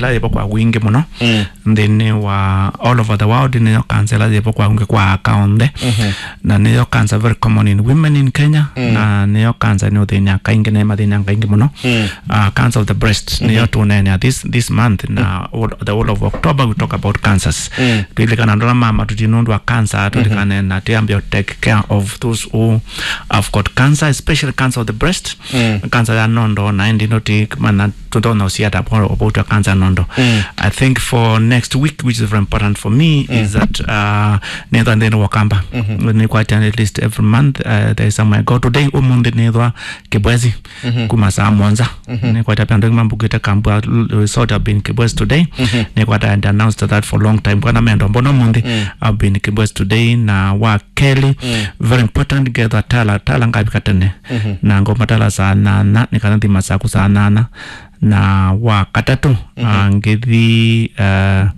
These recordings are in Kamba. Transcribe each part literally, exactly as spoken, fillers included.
ĩla yĩvo kwa wingĩ mũno nthĩnĩ wa all over the world. Nĩyo cancer ĩla yĩvo kwa wingĩ kwa aka onthe. Na nĩyo cancer very common in women in Kenya. Na nĩyo cancer nĩ ũthĩnĩa kaingĩ, na mathĩnĩa kaingĩ mũno. Uh, cancer of the breast nĩyo tũneenea this, this month, na all, the whole of October we talk about cancers. Twĩlikana andũ ala ma matuti nũndũ wa cancer, twĩlikane na twĩambia take care of those who have got cancer, especially cancer of the breast, cancer ya nondo, na ĩndĩ no ti mana tũtonya ũsiata about your cancer nondo. I think for next week, which is very important for me, is that, uh, nĩthwa nthĩnĩ wa kamba. Nĩkwatya at least every month, uh, there is somewhere I go. Today, ũmũnthĩ nĩthwa Kibwezi kuma saa mũonza. Nĩkwata pia andũ mambukĩte kambua resort, I've been Kibwezi today. Nĩkwata and announced that for a long time. Kana mendo mbona ũmũnthĩ, I've been Kibwezi today, na wa kelĩ, very important, ngethwa tala, tala ngavika tene. Na ngoma tala saa nana, nĩkana thima saku saa nana. Na wa katatũ, ah, ngĩthi, ah,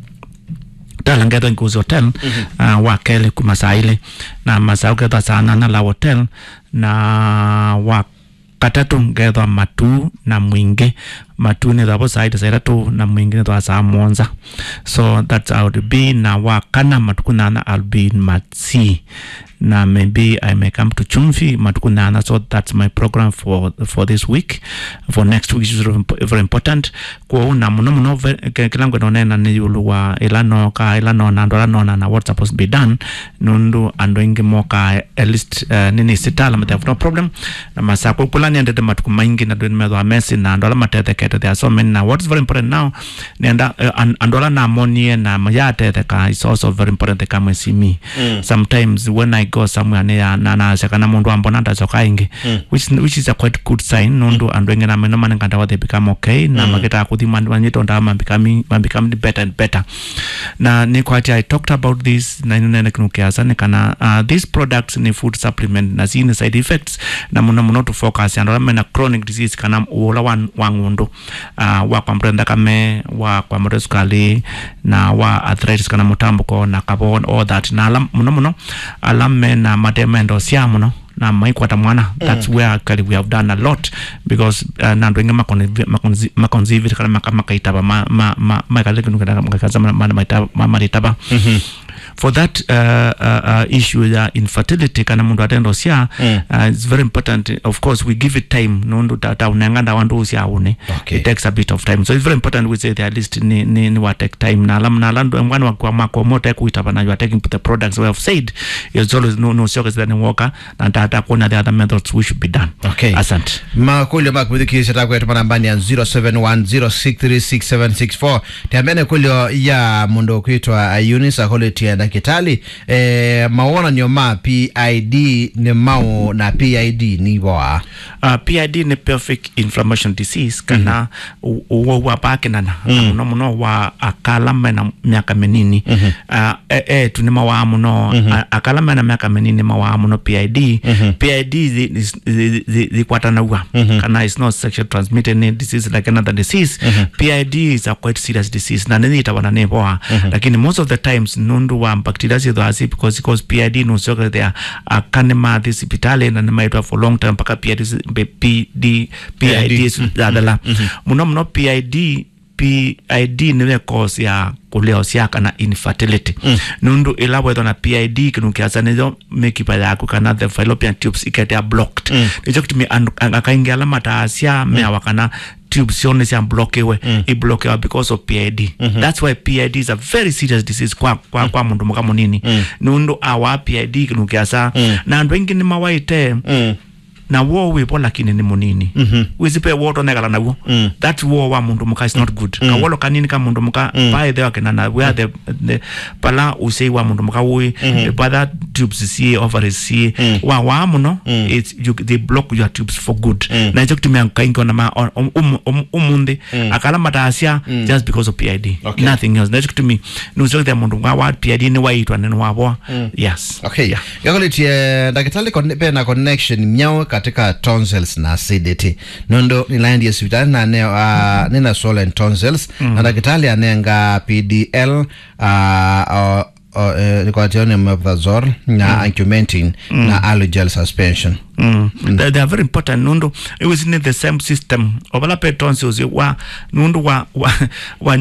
tala ngethwa Nkuzi Hotel, ah, wa kelĩ kuma saa ilĩ. Na masaa ũkethwa saa nana la hotel. Na wa katatũ ngethwa Matuu na Mwingĩ. Matuu nĩthwa vo saa ita saa itatũ, na Mwingĩ nĩthwa saa mũonza. So that's how it be. Na wa kana matukũ nana I'll be in Matsii. Na maybe I may come to Chumvi matukũ nana. So that's my program for, for this week, for next week, which is very impo-, very important. Kwoou na mũno mũno ve-, ke-, kĩla ngwenda ũneena nĩ ĩũlũ wa ĩla nooka, ĩla noona, andũ ala noona na what's supposed to be done, nũndũ andũ aingĩ mokaa at least, uh, nĩnĩsĩ tala, they have no problem. Na masakwa kũla nĩendete matukũ maingĩ na ndwĩ nĩmethwa mesi na andũ ala matethekete, there are so many. Na what's very important now, nenda, uh, an-, andũ ala namonie na mayatetheka, it's also very important they come and see me. Sometimes when I go somewhere, nĩ ya, na, nasya kana mũndũ ambona ndacoka ĩngĩ, which, which is a quite good sign, nũndũ andũ aingĩ na meno manenganda wa they become okay, na makĩtaa kũthima, manyĩte ndawa, mabecome, mabecome better and better. Na nĩkwatya, I talked about this, na nĩnene kĩndũ kĩasa, nĩ kana, uh, these products nĩ food supplement, na si nĩ side effects, na mũno mũno to focus andũ ala mena chronic disease, kana ũla wa, wa ng'ũndũ, uh, wa kwambatwa nthakame, wa kwambatwa sukali, na wa arthritis kana mũtambũko, na kavo, all that. Na ala, mũno mũno, ala mena matemendo sya mũno, na maikwata mwana. That's where actually we have done a lot, because, uh, na andũ aingĩ makon-, makon-, makonzivĩte kana maka-, makaitava ma-, ma-, ma-, maikale kĩndũ kana makaza ma-, ma-, maitava, ma-, maritava. For that, uh, uh, uh, issue ya infertility kana mũndũ atendo sya, uh, it's very important. Of course, we give it time. Nũndũ ta, ta ũnenga ndawa ndũ sya ũne. Okay. It takes a bit of time. So it's very important we say the at least ni, ni, ni wa take time. Na alam-, na alandu mwana wa kwa mako mote kuitava na you are taking the products we have said. It's always no, no, sure that ni woka. Na ndata kuona the other methods we should be done. Okay. Asante. Makũlyo ma kũthikĩĩsya ta kwetũma nambani ya zero seven one zero six three six seven six four. Tembea na kũlyo ya mũndũ kwĩtwa Eunice akũlĩtye ndakĩtalĩ, eh, mawonanyo ma P I D nĩ maũ na P I D nĩ voa? Uh, P I D nĩ pelvic inflammation disease, kana ũ-, ũwau wa paa kĩnana, na mũno mũno wa akala mena myaka mĩnini. Uh, e-, etu nĩ mawaa mũno. A-, akala mena myaka mĩnini mawaa mũno P I D. P I D zi-, zi-, zi-, zi-, zikwatanaw'a, kana is not sexual transmitted, nĩ disease like another disease. P I D is a quite serious disease, na nĩyĩtawa na nĩvoa. Lakini most of the times, nũndũ wa bacteria syĩthwaa si, because, because P I D nũsyoke there, aka nĩmathi sipitali na nĩmaitwa for long time mpaka P I D si-, P D, P I D yathela. Mũno mũno P I D, P I D nĩwe cause ya kũlea ũsyaa kana infertility. Nũndũ ĩla wethwa na P I D, kĩndũ kĩasa nĩyo mĩkiva yaku kana the fallopian tubes iketea blocked. Nĩkyo kĩtumi andũ, a-, akaingĩ ala mataasya meawa kana tubes syoo nĩsya blockiwe, i blockiwa because of P I D. That's why P I D is a very serious disease kwa, kwa, kwa mũndũ mũka mũnini. Nũndũ awaa P I D kĩndũ kĩasa. Na andũ aingĩ nĩmawaĩte, na woo wĩvo lakini nĩ mũnini. Wĩsĩ pe woo tonekala naw'o. That woo wa mũndũ mũka is not good. Kawolo kanini ka mũndũ mũka, by the way, kĩnana, where the, the, pala ũsyai wa mũndũ mũka ũĩ, the bladder tubes siĩ, ovaries siĩ, wa, waa mũno, it's, you, they block your tubes for good. Na ĩkyo kĩtumĩa kaingĩ ona ma, um, um, um, ũmũnthĩ, akala mataasya just because of P I D. Okay. Nothing else. Na ĩkyo kĩtumi, nũsyothĩa mũndũ wa, wa P I D nĩwaitwa, nĩwavoa. Yes. Okay. Yeah. Ngakolĩtye, ndakĩtalĩ, con-, pena connection myaũ katika tonsils na acidity? Nũndũ nĩlaendie sivitali na ne-, ah, nĩna swollen tonsils, na ndakĩtalĩ anenga P D L, ah, o, o, eh, nĩkwatĩo nĩ omeprazole na Augmentin na Alogel suspension. They, they are very important nũndũ it was in the same system. Ovala pe tonsils wa, nũndũ wa, wa, wa,